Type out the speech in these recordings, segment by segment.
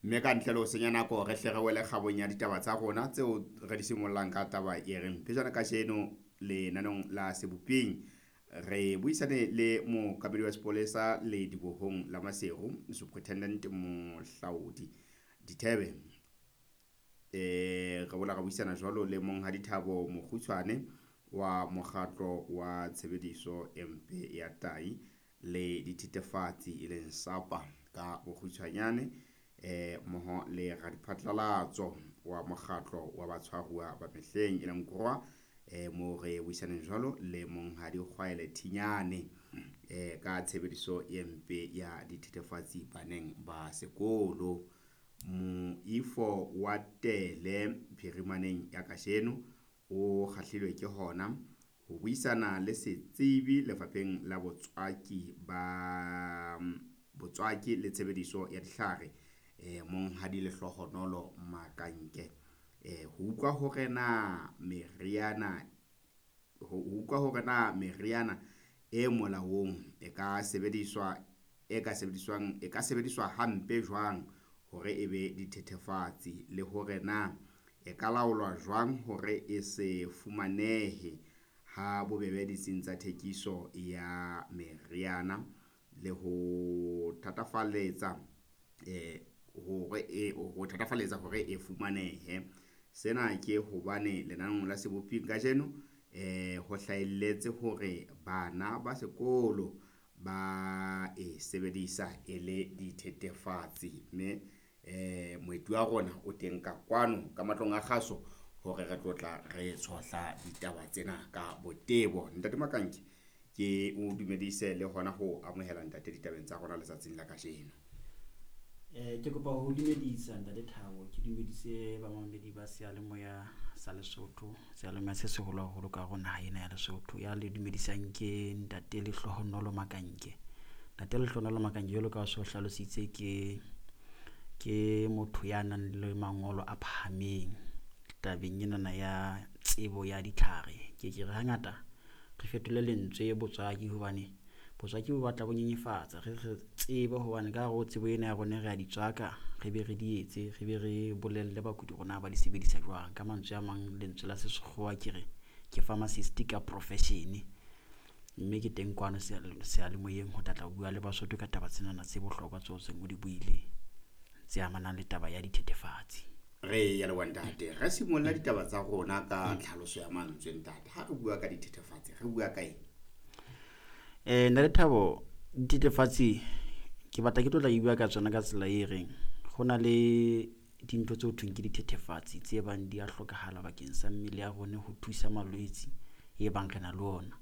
Mme ka ntle le ho senya nako, re hle re wele kgabong ya ditaba tsa rona tseo re di simollang ka taba e reng pejana kajeno lenaneong la Seboping re buisane le mookamedi wa sepolesa le dibohong la Maseru, Superintendent Mohlaodi Dithebe. Re boela ra buisana jwalo le Monghadi Thabo Mokgutshwane wa mokgatlo wa tshebediso e mpe ya tai le dithethefatsi, e leng SAPA ka bokgutshwanyane, mmoho le radiphatlalatso wa mokgatlo wa batshwaruwa ba mehleng, e leng GROWA, moo re buisaneng jwalo le Monghadi Kgwaele Thinyane ka tshebediso e mpe ya dithethefatsi baneng ba sekolo. Moifo wa tele phirimaneng ya kajeno o kgahlilwe ke hona ho buisana le setsebi lefapheng la botswaki ba botswaki le tshebediso ya dihlare, Monghadi Lehlohonolo Makanke, ho utlwa hore na meriana ho utlwa hore na meriana e molaong e ka sebediswa e ka sebediswang e ka sebediswa hampe jwang hore e be dithethefatsi, le hore na e ka laolwa jwang hore e se fumanehe ha bobebe ditsing tsa thekiso ya meriana, le ho thatafaletsa hore e ho thatafaletsa hore e fumanehe. Sena ke hobane lenaneong la Seboping kajeno ho hlahelletse hore bana ba sekolo ba e sebedisa e le dithethefatsi. Mme moeti wa rona o teng ka kwano ka matlong a kgaso hore re tlo tla re tshohla ditaba tsena ka botebo. Ntate Makanke, ke o dumedise le hona ho amohela ntate ditabeng tsa rona letsatsing la kajeno. Ke kopa ho dumedisa Ntate Thabo, ke dumedise bamamedi ba seyalemoya sa Lesotho, seyalemoya se seholo haholo ka hare ho naha ena ya Lesotho. Ya le dumedisang ke Ntate Lehlohonolo Makanke. Ntate Lehlohonolo Makanke jwalo ka ha o so hlalositse ke motho ya nang le mangolo a phahameng tabeng enana ya tsebo ya ditlhare. Ke ke re hangata re fetole lentswe botswaki hobane botswaki bo batla bo nyenyefatsa, re re tsebe hobane ka hare ho tsebo ena ya rona re a di tswaka, re be re di etse, re be re bolelle bakudi hore na ba di sebedisa jwang. Ka mantswe a mang lentswe la sekgowa ke re ke pharmacist ka profession, mme ke teng kwano seyalemoyeng ho tla tla bua le Basotho ka taba tsenana tse bohlokwa tseo seng o di buile tse amanang le taba ya dithethefatsi. Re ya leboha ntate. Re simolla ditaba tsa rona ka tlhaloso ya mantswe ntate. Ha re bua ka dithethefatsi re bua ka eng? Ntate Thabo, dithethefatsi ke batla ke tlo tla e bua ka tsona ka tsela e reng ho na le dintho tse ho thweng ke dithethefatsi tse bang di a hlokahala bakeng sa mmele ya rona ho thusa malwetse e bang re na le ona.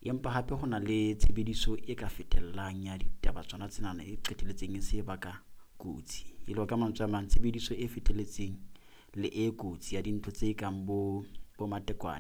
Empa hape ho na le tshebediso e ka fetellang ya ditaba tsona tsenana e qetelletseng e se baka kotsi. E le hore ka mantswe a mang tshebediso e fetelletseng le e kotsi ya dintho tse kang bo matekwane.